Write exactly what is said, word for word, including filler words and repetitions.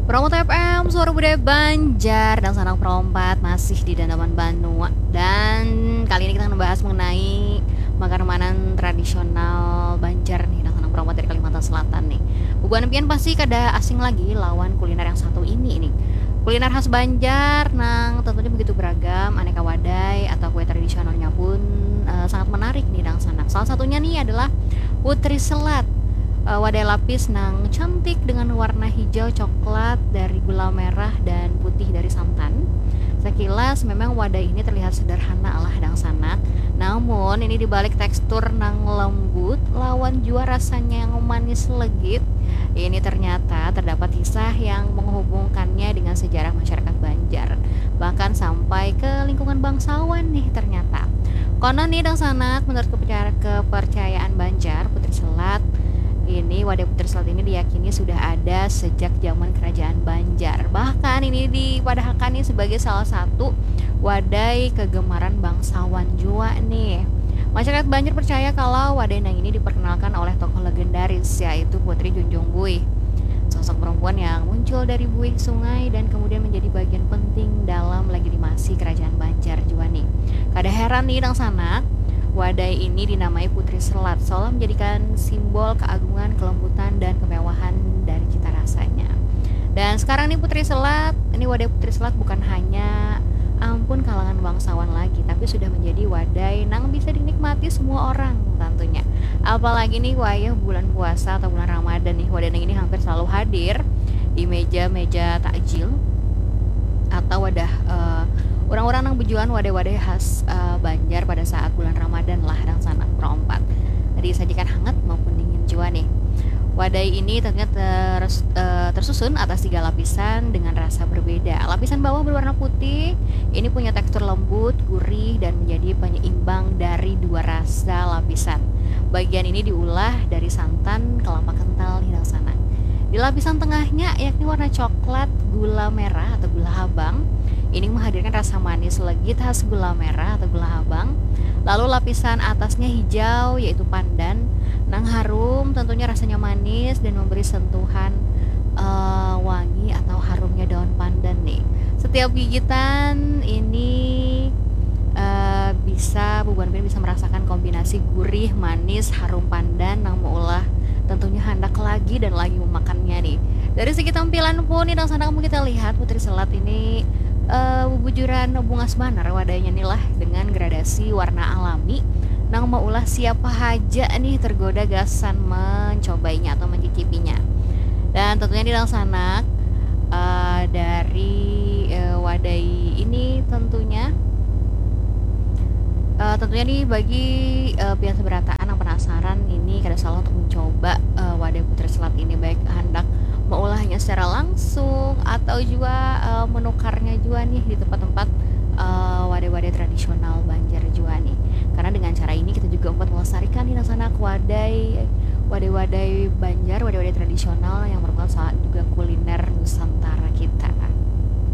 Promo T F M, suara budaya Banjar, dan sanak perompat masih di Dandaman Banua. Dan kali ini kita akan membahas mengenai makanan tradisional Banjar nih, dan sanak perompat dari Kalimantan Selatan nih. Bubuhan pian pasti kada asing lagi lawan kuliner yang satu ini nih. Kuliner khas Banjar nang tentunya begitu beragam, aneka wadai atau kue tradisionalnya pun uh, sangat menarik nih, dan sanak. Salah satunya nih adalah Putri Selat, uh, wadai lapis nang cantik dengan warna hijau coklat dari gula merah dan putih dari santan. Sekilas memang wadai ini terlihat sederhana lah, dangsanak. Namun ini dibalik tekstur nang lembut lawan jua rasanya yang manis legit, ini ternyata terdapat kisah yang menghubungkannya dengan sejarah masyarakat Banjar, bahkan sampai ke lingkungan bangsawan nih ternyata. Konon nih, dangsanak, menurut kepercayaan Banjar, Putri Selat ini, wadai Putri Selat ini diyakini sudah ada sejak zaman kerajaan Banjar. Bahkan ini dipadahakan nih sebagai salah satu wadai kegemaran bangsawan jua nih. Masyarakat Banjar percaya kalau wadai nang ini diperkenalkan oleh tokoh legendaris, yaitu Putri Junjung Buih, sosok perempuan yang muncul dari buih sungai dan kemudian menjadi bagian penting dalam legitimasi kerajaan Banjar jua nih. Kada heran nih, dangsanak, wadai ini dinamai Putri Selat seolah menjadikan simbol keagungan, kelembutan, dan kemewahan dari cita rasanya. Dan sekarang nih, Putri Selat, ini wadai Putri Selat bukan hanya ampun kalangan bangsawan lagi, tapi sudah menjadi wadai nang bisa dinikmati semua orang tentunya. Apalagi nih wayah bulan puasa atau bulan Ramadan nih, wadai nang ini hampir selalu hadir di meja-meja takjil atau wadah uh, orang-orang nang bejualan wadai-wadai khas uh, Banjar pada saat bulan Ramadan lah, dangsanak, perompat. Disajikan hangat maupun dingin jua nih. Wadai ini tentunya ter, uh, tersusun atas tiga lapisan dengan rasa berbeda. Lapisan bawah berwarna putih, ini punya tekstur lembut, gurih, dan menjadi penyeimbang dari dua rasa lapisan. Bagian ini diulah dari santan kelapa kental nih, dangsanak. Di lapisan tengahnya, yakni warna coklat gula merah atau gula habang, ini menghadirkan rasa manis legit khas gula merah atau gula habang. Lalu lapisan atasnya hijau, yaitu pandan, nang harum, tentunya rasanya manis dan memberi sentuhan uh, wangi atau harumnya daun pandan nih. Setiap gigitan ini uh, bisa, bubuhan pian bisa merasakan kombinasi gurih, manis, harum pandan nang meulah tentunya handak lagi dan lagi memakannya nih. Dari segi tampilan pun nih, dangsanak, mun kita lihat, Putri Selat ini uh, bubujuran bungas banar wadainya nih lah, dengan gradasi warna alami nang meulah siapa haja nih tergoda gasan mencobainya atau mencicipinya. Dan tentunya nih, dangsanak, uh, dari uh, wadai ini tentunya uh, tentunya nih, bagi uh, pian seberataan yang penasaran ini, kada salah untuk mencoba uh, wadai Putri Selat ini, baik handak meulahnya secara langsung atau juga uh, menukarnya juga nih di tempat-tempat uh, wadai-wadai tradisional Banjar juga nih. Karena dengan cara ini kita juga dapat melestarikan nih, dangsanak, wadai wadai-wadai Banjar, wadai-wadai tradisional yang merupakan salah juga kuliner Nusantara kita.